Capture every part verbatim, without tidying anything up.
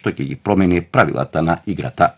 што ќе ги промени правилата на играта.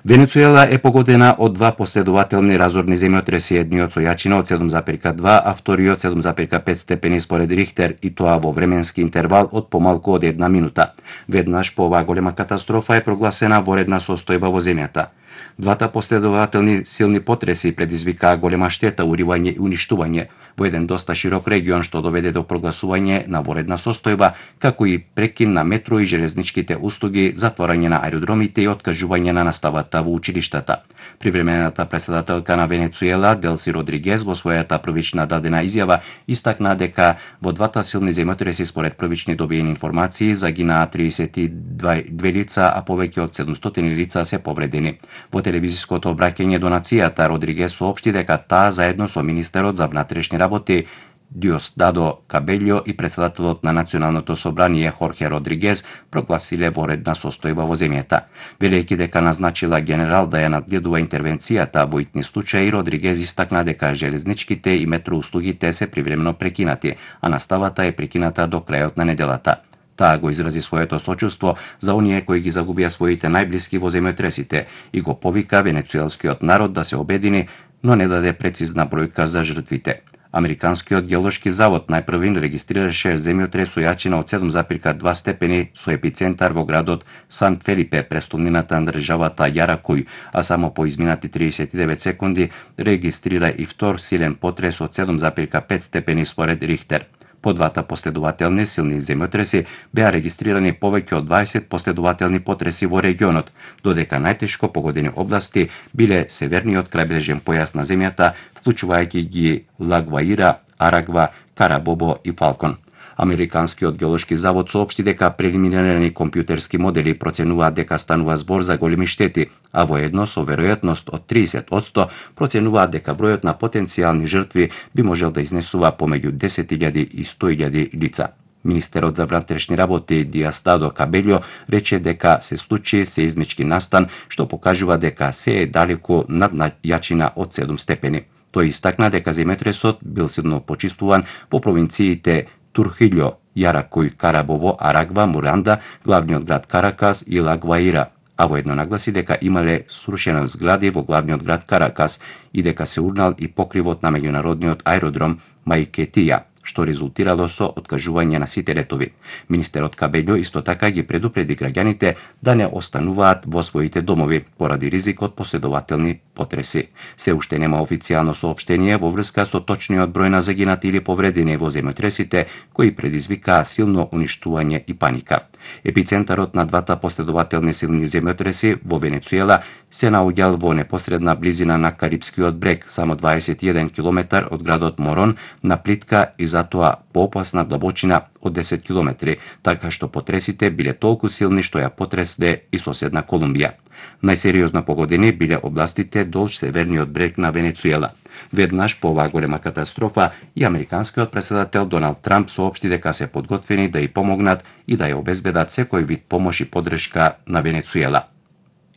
Венецуела е погодена од два последователни разорни земјотреси, едниот со јачина од седум зарез два, а вториот седум зарез пет степени според Рихтер, и тоа во временски интервал од помалку од една минута. Веднаш по оваа голема катастрофа е прогласена воредна состојба во земјата. Двата последователни силни потреси предизвикаа голема штета, уривање и уништување во еден доста широк регион, што доведе до прогласување на воредна состојба, како и прекин на метро и железничките услуги, затворање на аеродромите и откажување на наставата во училиштата. Привремената председателка на Венецуела, Делси Родригес, во својата првична дадена изјава истакна дека во двата силни земјотреси според првични добиени информации загинаа триесет и две лица, а повеќе од седумстотини лица се повредени. Во телевизиското обраќање до нацијата, Родригес соопшти дека таа заедно со министерот за внатрешни работи Диосдадо Кабелјо и председателот на Националното собрание Хорхе Родригес прогласиле воредна состојба во земјата. Велејќи дека назначила генерал да ја надгледува интервенцијата во итни случаи, Родригес истакна дека железничките и метроуслугите се привремено прекинати, а наставата е прекината до крајот на неделата. Таа го изрази своето сочувство за оние кои ги загубија своите најблиски во земјотресите и го повика венецуелскиот народ да се обедини, но не даде прецизна бројка за жртвите. Американскиот геолошки завод најпрвин регистрираше земјотрес со јачина од седум зарез два степени со епицентар во градот Сан Фелипе, престолнината на државата Јаракуј, а само по изминати триесет и девет секунди регистрира и втор силен потрес од седум зарез пет степени според Рихтер. По двата последователни силни земјотреси беа регистрирани повеќе од дваесет последователни потреси во регионот, додека најтешко погодени области биле северниот крајбрежен појас на земјата, вклучувајќи ги Лагваира, Арагва, Карабобо и Фалкон. Американскиот геолошки завод соопшти дека прелиминарни компјутерски модели проценуваат дека станува збор за големи штети, а воедно со веројатност од триесет одсто проценуваат дека бројот на потенцијални жртви би можел да изнесува помеѓу десет илјади и сто илјади лица. Министерот за внатрешни работи Диосдадо Кабелјо рече дека се случи сеизмички настан, што покажува дека се е далеку над јачина од седум степени. Тој истакна дека земјотресот бил силно почистуван во провинциите Турхилјо, Јаракуј, Карабово, Арагва, Муранда, главниот град Каракас и Лагваира, а воедно нагласи дека имале срушени згради во главниот град Каракас и дека се урнал и покривот на меѓународниот аеродром Маикетија, што резултирало со откажување на сите летови. Министерот Кабелјо исто така ги предупреди граѓаните да не остануваат во своите домови поради ризик од последователни потреси. Се уште нема официјално соопштение во врска со точниот број на загинати или повредени во земјотресите, кои предизвикаа силно уништување и паника. Епицентарот на двата последователни силни земјотреси во Венецуела се наоѓал во непосредна близина на Карипскиот брег, само дваесет и еден километар од градот Морон, на плитка и затоа поопасна длабочина од десет километри, така што потресите биле толку силни што ја потресде и соседна Колумбија. Најсериозно погодени биле областите долж северниот брег на Венецуела. Веднаш по оваа голема катастрофа и американскиот председател Доналд Трамп соопшти дека се подготвени да ја помогнат и да ја обезбедат секој вид помош и поддршка на Венецуела.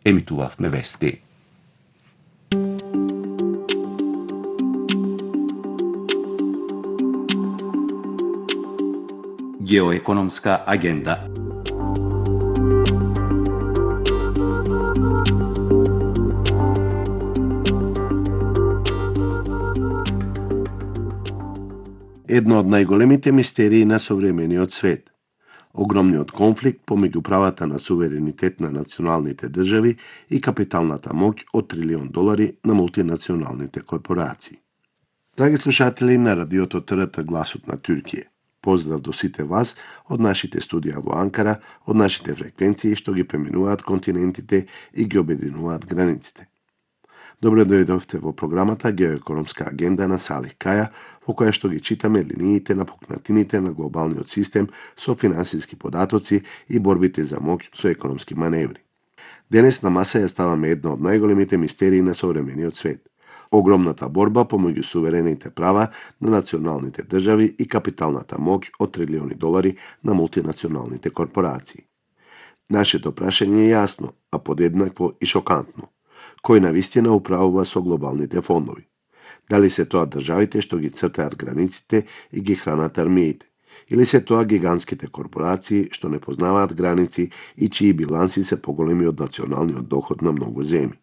Емитувавме вести. Геоекономска агенда. Една од најголемите мистерии на современиот свет. Огромниот конфликт помеѓу правата на суверенитет на националните држави и капиталната моќ од трилион долари на мултинационалните корпорации. Драги слушатели на радиото ТРТ Гласот на Туркија, поздрав до сите вас од нашите студија во Анкара, од нашите фреквенции што ги преминуваат континентите и ги обединуваат границите. Добре дојдовте во програмата Геоекономска агенда на Салих Каја, во која што ги читаме линиите на пукнатините на глобалниот систем со финансиски податоци и борбите за моќ со економски маневри. Денес на маса ја ставаме една од најголемите мистерии на современиот свет. Огромната борба помеѓу суверените права на националните држави и капиталната моќ од трилиони долари на мултинационалните корпорации. Нашето прашање е јасно, а подеднакво и шокантно. Кој навистина управува со глобалните фондови? Дали се тоа државите што ги цртаат границите и ги хранат армиите? Или се тоа гигантските корпорации што не познаваат граници и чии биланси се поголеми од националниот доход на многу земји?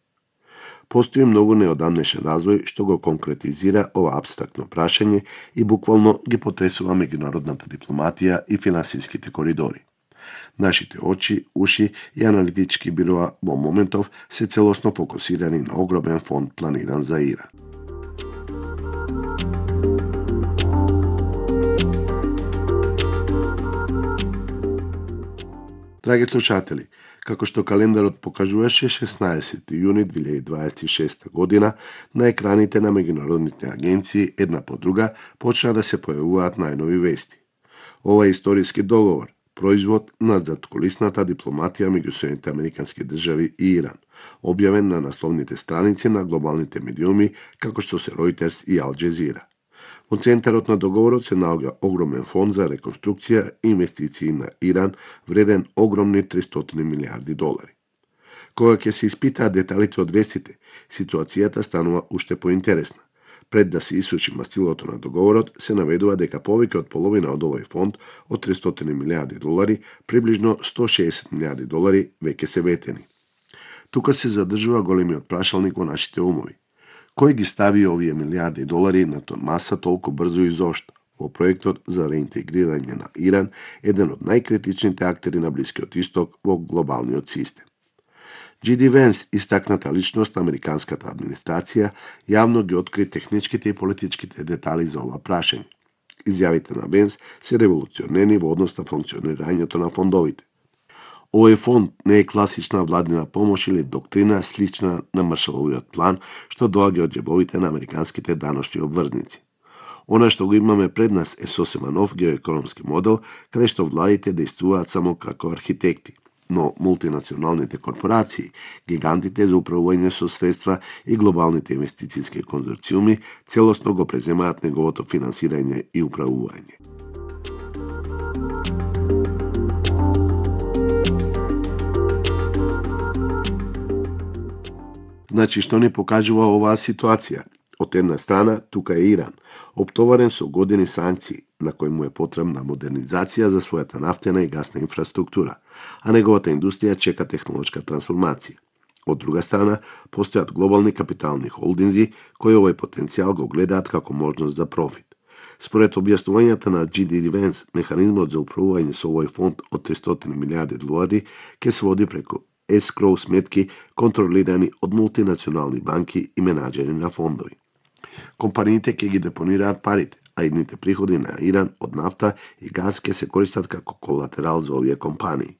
Постои многу неодамнешен развој што го конкретизира ова апстрактно прашање и буквално ги потресува меѓународната дипломатија и финансиските коридори. Нашите очи, уши и аналитички бироа во моментов се целосно фокусирани на огромен фонд планиран за Иран. Драги слушатели, како што календарот покажуваше шеснаесети јуни две илјади дваесет и шеста година, на екраните на меѓународните агенции една по друга почна да се појавуваат најнови вести. Ова е историски договор, производ на заткулисната дипломатија меѓу Соединетите американски држави и Иран, објавен на насловните страници на глобалните медиуми како што се Reuters и Ал Джезира. Во центарот на договорот се наоѓа огромен фонд за реконструкција и инвестиции на Иран, вреден огромни триста милијарди долари. Кога ќе се испитаат деталите од вестите, ситуацијата станува уште поинтересна. Пред да се исучи мастилото на договорот, се наведува дека повеќе од половина од овој фонд од триста милијарди долари, приближно сто шеесет милијарди долари, веќе се ветени. Тука се задржува големиот прашалник во нашите умови. Кој ги стави овие милијарди долари на маса толку брзо и зошто? Во проектот за реинтегрирање на Иран, еден од најкритичните актери на Блискиот Исток во глобалниот систем. Джи Ди Венс, истакната личност на американската администрација, јавно ги откри техничките и политичките детали за ова прашање. Изјавите на Венс се револуционерни во однос на функционирањето на фондовите. Овој фонд не е класична владина помош или доктрина слична на Маршаловиот план, што доаѓа од џебовите на американските даночни обврзници. Она што го имаме пред нас е сосема нов геоекономски модел, каде што владите действуваат само како архитекти, но мултинационалните корпорации, гигантите за управување со средства и глобалните инвестицијски конзорциуми целосно го преземаат неговото финансирање и управување. Значи, што ни покажува оваа ситуација? Од една страна, тука е Иран, оптоварен со години санкции, на кој му е потребна модернизација за својата нафтена и гасна инфраструктура, а неговата индустрија чека технолошка трансформација. Од друга страна, постојат глобални капитални холдинзи кои овој потенцијал го гледаат како можност за профит. Според објаснувањата на Джи Ди Венс, механизмот за управување со овој фонд од триста милијарди долари ќе се води преку ескроу сметки контролирани од мултинационални банки и менаџери на фондови. Компаниите ќе ги депонираат парите, а идните приходи на Иран од нафта и газ ќе се користат како колатерал за овие компании.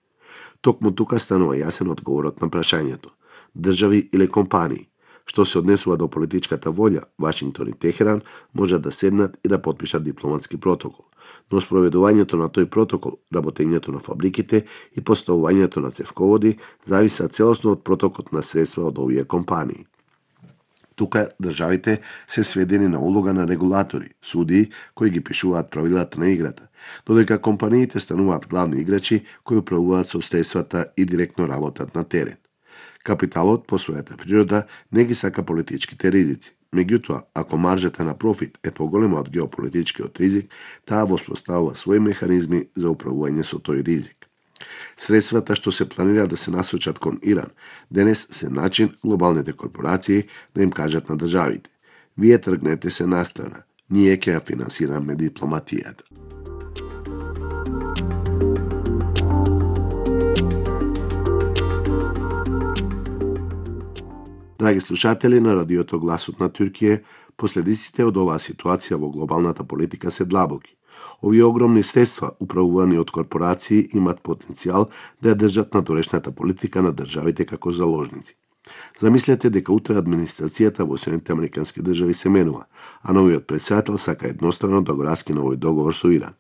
Токму тука станува јасен одговорот на прашањето: држави или компании? Што се однесува до политичката волја, Вашингтон и Техеран можат да седнат и да потпишат дипломатски протокол, но спроведувањето на тој протокол, работењето на фабриките и поставувањето на цевководи зависат целосно од протокот на средства од овие компании. Тука државите се сведени на улога на регулатори, судии кои ги пишуваат правилата на играта, додека компаниите стануваат главни играчи кои управуваат со средствата и директно работат на терен. Капиталот по својата природа не ги сака политичките ризици. Меѓутоа, ако маржата на профит е поголема од геополитичкиот ризик, таа воспоставува своји механизми за управување со тој ризик. Средствата што се планира да се насочат кон Иран, денес се начин глобалните корпорации да им кажат на државите: вие тргнете се настрана, ние ќе ја финансираме дипломатијата. Драги слушатели на радиото Гласот на Туркија, последиците од оваа ситуација во глобалната политика се длабоки. Овие огромни средства, управувани од корпорации, имат потенцијал да ја држат надорешната политика на државите како заложници. Замислете дека утре администрацијата во Соединетите американски држави се менува, а новиот претседател сака еднострано да го раскине овој договор со Иран.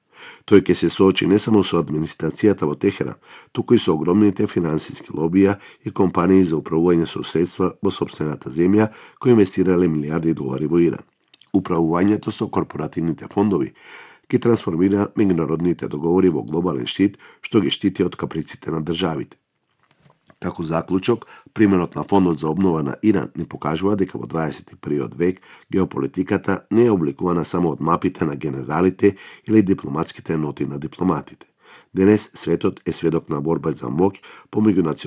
Тој ќе се соочи не само со администрацијата во Техеран, туку и со огромните финансиски лобија и компании за управување со средства во сопствената земја кои инвестирале милијарди долари во Иран. Управувањето со корпоративните фондови ги трансформира меѓународните договори во глобален штит што ги штити од каприците на државите. Како заклучок, примерот на Фондот за обнова на Иран ни покажува дека во дваесет и првиот век геополитиката не е обликувана само од мапите на генералите или дипломатските ноти на дипломатите. Денес светот е сведок на борба за моќ помеѓу